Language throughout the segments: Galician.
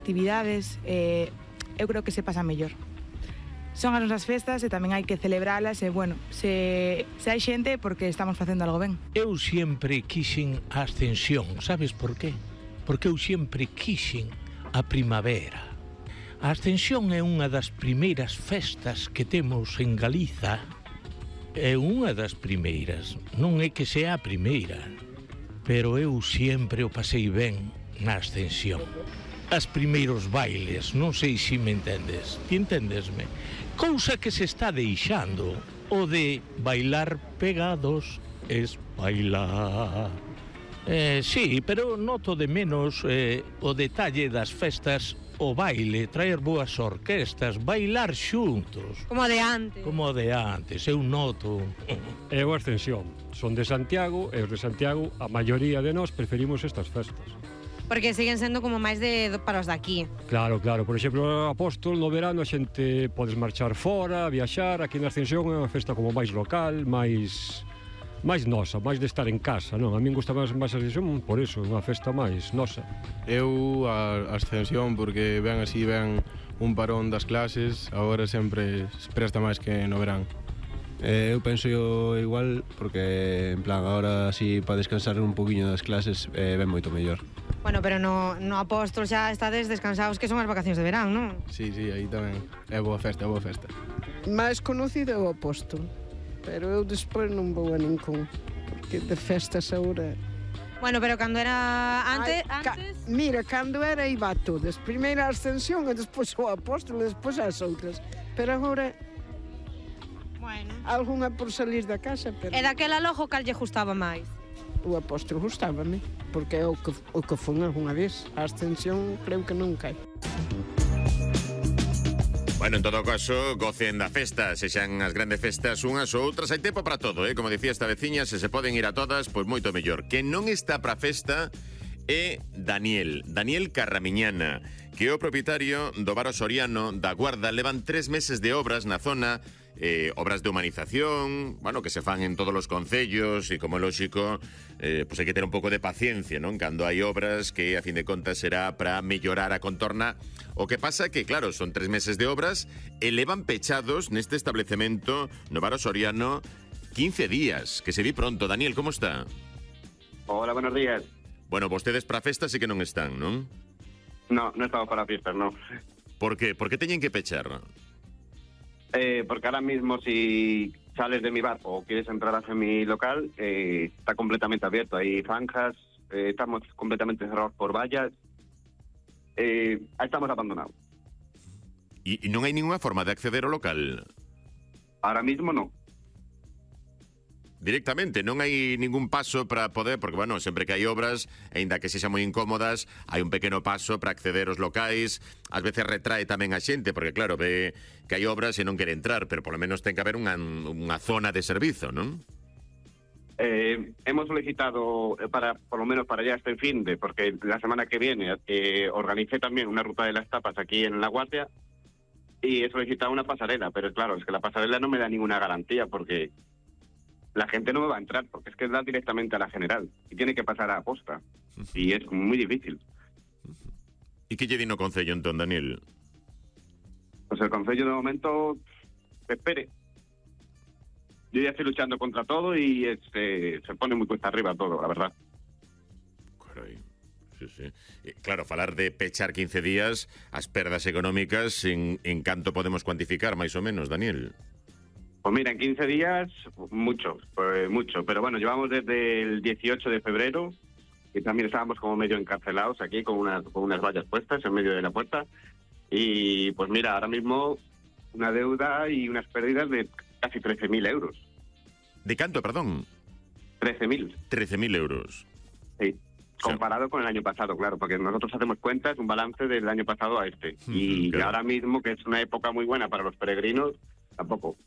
actividades, eu creo que se pasa mellor. Son as nosas festas e tamén hai que celebralas e, bueno, se hai xente porque estamos facendo algo ben. Eu sempre quixen a Ascensión, sabes por qué? Porque eu sempre quixen a primavera. A Ascensión é unha das primeiras festas que temos en Galiza. É unha das primeiras, non é que sea a primeira, pero eu sempre o pasei ben na Ascensión. As primeiros bailes, non sei se me entendes. Ti entendesme? Cousa que se está deixando, o de bailar pegados es bailar. Sí, pero noto de menos o detalle das festas, o baile, traer boas orquestas, bailar xuntos. Como de antes. Como de antes, eu noto. É a Ascensión. Son de Santiago e os de Santiago, a maioría de nós preferimos estas festas. Porque siguen sendo como máis para os de aquí. Claro, claro. Por exemplo, Apóstol, no verano a xente podes marchar fora, viaxar. Aquí na Ascensión é unha festa como máis local, máis nosa, máis de estar en casa, non? A min gusta máis a Ascensión, por eso, unha festa máis nosa. Eu a Ascensión porque ven así, ven un parón das clases, agora sempre se presta máis que no verán. Eu penso igual porque, en plan, agora así para descansar un poquinho das clases ven moito mellor. Bueno, pero no Apóstol xa estades descansados, que son as vacacións de verán, non? Sí, aí tamén. É boa festa, é boa festa. Máis conocido é o Apóstol, pero eu despois non vou a ningún, porque de festas agora... Bueno, pero cando era antes... Mira, cando era iba a todas. Primeiro a Ascensión e despois o Apóstol e despois as outras. Pero agora... Bueno. Algunha por salir da casa, pero... E daquela logo cal lle gustaba máis? O Apóstol gustábame, porque é o que fun algunha vez. A Ascensión creo que nunca. Bueno, en todo caso, gocen da festa, sexan as grandes festas unhas ou outras, hai tempo para todo, como dicía esta veciña, se poden ir a todas, pois moito mellor. Que non está para festa é Daniel Carramiñana, que é o propietario do bar O Soriano da Guarda. Levan 3 meses de obras na zona, obras de humanización, bueno, que se fan en todos os concellos e, como é lóxico, pois hai que ter un pouco de paciencia, non? Cando hai obras que, a fin de contas, será para mellorar a contorna. O que pasa que, claro, son 3 meses de obras e levan pechados neste establecemento no bar O Soriano 15 días, que se di pronto. Daniel, como está? Hola, buenos días. Bueno, vostedes para festa sí que non están, non? No estamos para fiestas, no. Por qué? ¿Por qué teñen que pechar? Porque ahora mismo si sales de mi bar o quieres entrar hacia mi local, está completamente abierto. Hay zanjas, estamos completamente cerrados por vallas, estamos abandonados. ¿Y non hai ninguna forma de acceder ao local? Ahora mismo no. Directamente, non hai ningún paso para poder, porque, bueno, sempre que hai obras, aínda que sexan moi incómodas, hai un pequeno paso para acceder aos locais. Ás veces retrae tamén a xente, porque, claro, ve que hai obras e non quere entrar, pero polo menos ten que haber unha zona de servizo, non? Hemos solicitado, por lo menos para ya este fin de, porque la semana que viene organicé también una ruta de las tapas aquí en La Guardia, y he solicitado una pasarela, pero claro, es que la pasarela no me da ninguna garantía, porque la gente no me va a entrar, porque es que da directamente a la general y tiene que pasar a posta, y es muy difícil. ¿Y qué lle di no concello entón, Daniel? Pues el concello de momento que espere. Yo ya estoy luchando contra todo y se pone muy cuesta arriba todo, la verdad. Carai, sí. Claro, falar de pechar 15 días, as perdas económicas, en canto podemos cuantificar, máis ou menos, Daniel? Pues mira, en 15 días, mucho, pero bueno, llevamos desde el 18 de febrero, y también estábamos como medio encarcelados aquí con unas vallas puestas en medio de la puerta, y pues mira, ahora mismo una deuda y unas pérdidas de casi 13.000 euros. ¿De canto, perdón? 13.000. 13.000 euros. Sí, comparado con el año pasado, claro, porque nosotros hacemos cuentas, un balance del año pasado a este, y claro, ahora mismo, que es una época muy buena para los peregrinos, tampoco.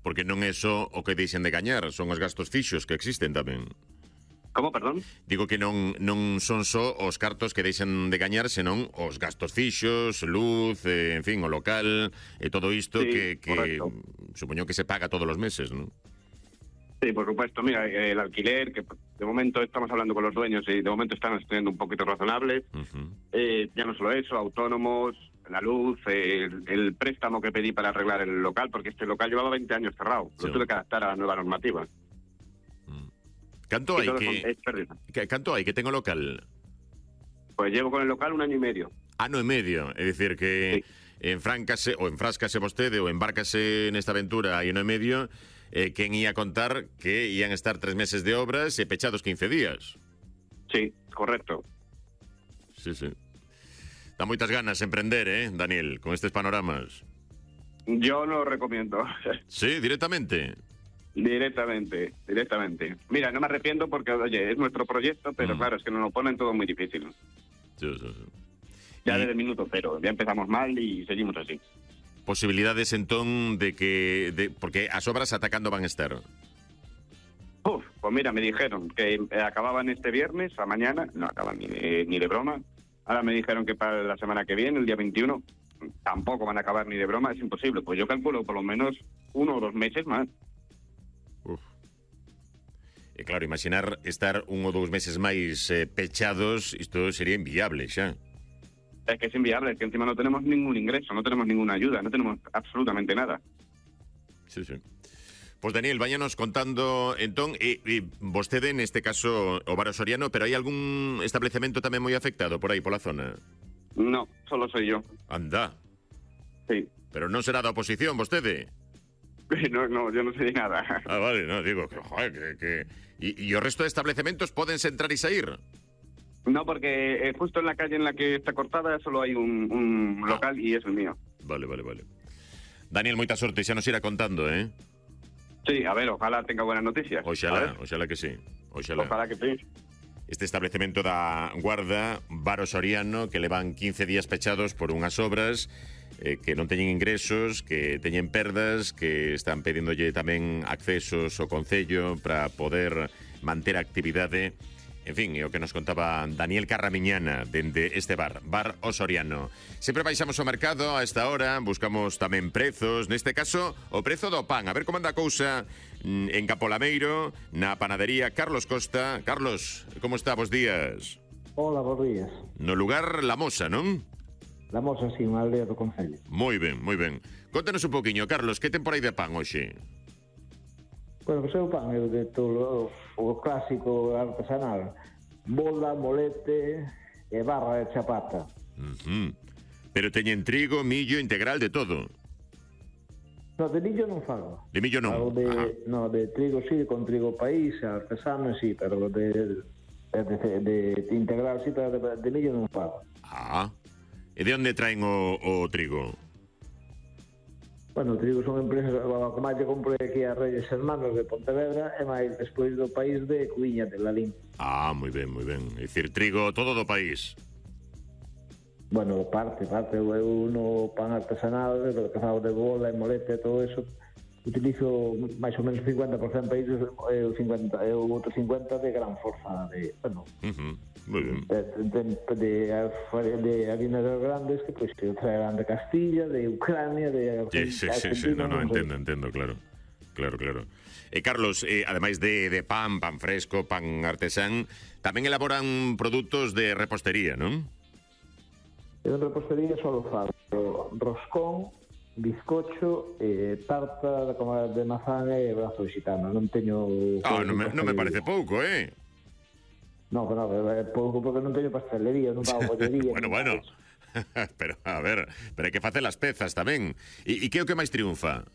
Porque non é só o que deixen de gañar, son os gastos fixos que existen tamén. Como, perdón? Digo que non son só os cartos que deixan de gañar, senón os gastos fixos, luz, en fin, o local, e todo isto, sí, que supoño que se paga todos os meses, non? Sí, por supuesto. Mira, el alquiler, que de momento estamos hablando con los dueños y de momento están estudiando un poquito razonables. Ya no solo eso, autónomos, la luz, el préstamo que pedí para arreglar el local, porque este local llevaba 20 años cerrado. Sí. Lo tuve que adaptar a la nueva normativa. Canto Y todo es pérdida. canto hai que ten o local? Pues llevo con el local 1 año y medio. Ano e medio, é dicir que enfráscase vostede ou embárcase nesta aventura hai ano e medio, quen ia contar que ian estar 3 meses de obras e pechados 15 días. Sí, correcto. Sí. Dá moitas ganas emprender, Daniel, con estes panoramas. Yo no lo recomiendo. Sí, directamente. Directamente. Mira, no me arrepiento porque, oye, es nuestro proyecto, pero claro, es que nos lo ponen todo muy difícil. Sí. Ya desde el minuto cero, ya empezamos mal y seguimos así. Posibilidades entón de que... porque as obras atacando van estar. Pues mira, me dijeron que acababan este viernes a mañana, no acaban ni de broma. Ahora me dijeron que para la semana que viene, el día 21, tampoco van a acabar ni de broma, es imposible. Pues yo calculo por lo menos 1 o 2 meses más. E claro, imaginar estar 1 ou 2 meses máis pechados, isto sería inviable xa. Es que es inviable, es que encima no tenemos ningún ingreso, no tenemos ninguna ayuda, no tenemos absolutamente nada. Sí. Pues Daniel, váyanos contando entón, vostede neste caso o Bar O Soriano, pero hai algún establecemento tamén moi afectado por aí pola zona? No, solo soy yo. Anda. Sí. Pero non será da oposición vostede? No, yo no sé de nada. Ah, vale, no, digo que, joder, que... ¿Y o resto de establecimientos pódense entrar y salir? No, porque justo en la calle en la que está cortada solo hay un local y es el mío. Vale. Daniel, moita sorte, xa nos irá contando, Sí, a ver, ojalá tenga buenas noticias. Oxalá que sí. Ojalá que sí. Este establecemento da Guarda, Bar O Soriano, que levan 15 días pechados por unhas obras, que non teñen ingresos, que teñen perdas, que están pedíndolle tamén accesos ao Concello para poder manter a actividade. En fin, é o que nos contaba Daniel Carramiñana dende este bar O Soriano. Sempre baixamos ao mercado a esta hora, buscamos tamén prezos, neste caso o prezo do pan. A ver como anda a cousa en Capolameiro, na panadería Carlos Costa. Carlos, como está? Bos días. Hola, bos días. No lugar La Mosa, non? La Mosa, sí, unha aldea do Concello. Moi ben. Contanos un poquinho, Carlos, que ten por aí de pan hoxe? Bueno, que o pan é de todo o clásico artesanal. Bola, molete e barra de chapata. Pero teñen trigo, millo, integral, de todo. No, de millo non fago. De millo non? No, de trigo sí, con trigo país, artesano sí, pero de integral sí, pero de millo non fago. E de onde traen o trigo? Bueno, o trigo son empresas, o que máis que comprei aquí a Reyes Hermanos de Pontevedra e máis despois do país de Cuiña de Lalín. Moi ben. É dicir, trigo todo do país. Bueno, parte, eu no pan artesanal, que fago de bola e molete e todo eso, utilizo máis ou menos 50% países e o outro 50% de gran forza de, bueno, moi ben. De harinas grandes que pois que traerán de Castilla, de Ucrania, de Sí, no, entendo, claro. E Carlos, ademais de pan fresco, pan artesán, tamén elaboran produtos de repostería, non? Eu en repostería só fago roscón, bizcocho, tarta de mazán e brazo gitano. Non teño... non me parece pouco, No, é pouco porque non teño pastelería, non fago bollería. Bueno. Pero, a ver, pero hai que facer as pezas tamén. E que é o que máis triunfa?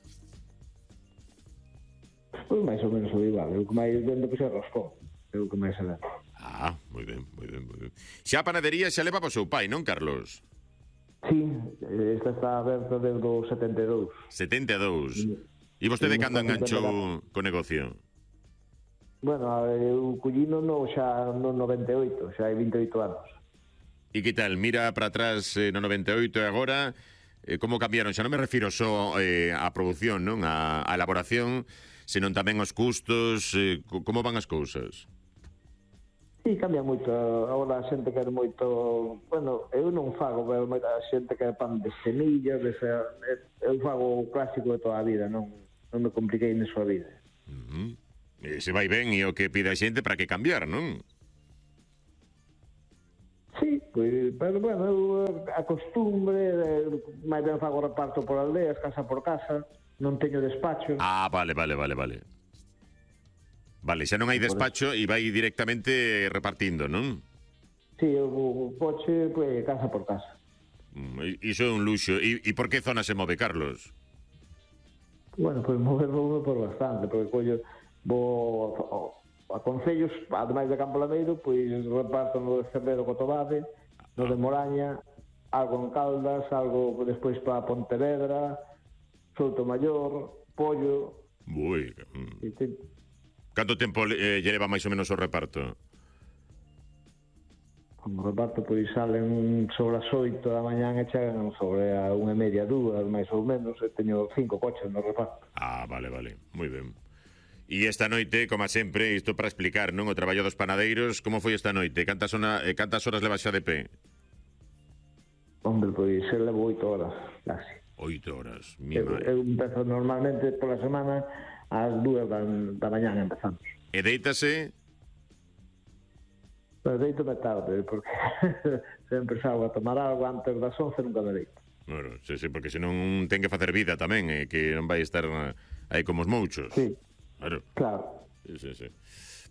Pois máis ou menos o igual. O que máis vendo que é roscón. É o que máis se vende. Moi ben. Xa a panadería xa leva o seu pai, non, Carlos? Sí, esta está aberta desde o 72. 72. E vostede cando enganchou co negocio? Bueno, eu collino xa no 98, xa hai 28 anos. E que tal? Mira para atrás no 98 e agora, como cambiaron? Xa non me refiro só á produción, non? A elaboración, senón tamén aos custos, como van as cousas? Sí, cambia moito. Agora a xente quer moito... Bueno, eu non fago, pero a xente quer pan de semillas, eu fago o clásico de toda a vida, non me compliquei na súa vida. Se vai ben e o que pide a xente para que cambiar, non? Sí, pois, pero bueno, a costumbre, máis ben fago reparto por aldeas, casa por casa, non teño despacho. Ah, vale. Vale, xa non hai despacho e vai directamente repartindo, non? Sí, o coche, pois, casa por casa. Iso é un luxo. E por que zona se move, Carlos? Bueno, pois moverlo por bastante, porque collo, vou a concellos, ademais de Campo Lameiro, pois reparto no de Cervero Cotobade, no de Moraña, algo en Caldas, algo despois para Pontevedra, Soutomaior, Pollo. Ui. Canto tempo lle leva máis ou menos o reparto? O reparto pois salen sobre as 8 da mañán e chegan sobre a 1:30, 2, máis ou menos, e teño 5 coches no reparto. Ah, vale, moi ben. E esta noite, como sempre, isto para explicar, non? O traballo dos panadeiros, como foi esta noite? Cantas horas levas xa de pé? Hombre, pois eu levo 8 horas, casi. 8 horas, Eu empezo normalmente pola semana ás 2 da mañán empezamos. E deítase? Pero deito-me tarde, porque sempre salgo a tomar algo antes das 11, nunca me deito. Bueno, sí, porque senón ten que facer vida tamén, que non vai estar aí como os mouchos. Sí. Claro. Sí.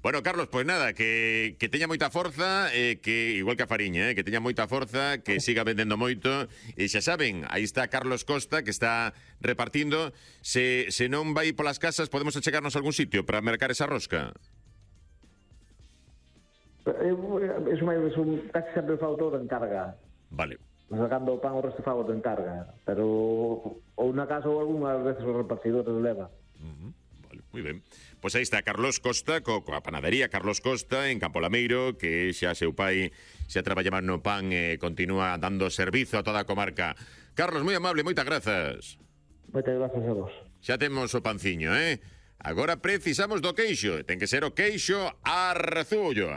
Bueno, Carlos, pois nada, que teña moita forza, que igual que a Fariña, que teña moita forza, que siga vendendo moito, e xa saben, aí está Carlos Costa, que está repartindo. Se non vai polas casas, podemos achegarnos a algún sitio para mercar esa rosca? Eso máis, casi sempre fago todo de encarga. Vale. Sacando o pan o resto fago de encarga, pero ou na casa ou algunhas veces os repartidores leva. Moi ben. Pois aí está Carlos Costa, coa panadería Carlos Costa en Campo Lameiro, que xa seu pai xa traballaba no pan e continúa dando servizo a toda a comarca. Carlos, moi amable, moitas grazas. Moitas grazas a vos. Xa temos o panciño, Agora precisamos do queixo. Ten que ser o queixo Arzullo.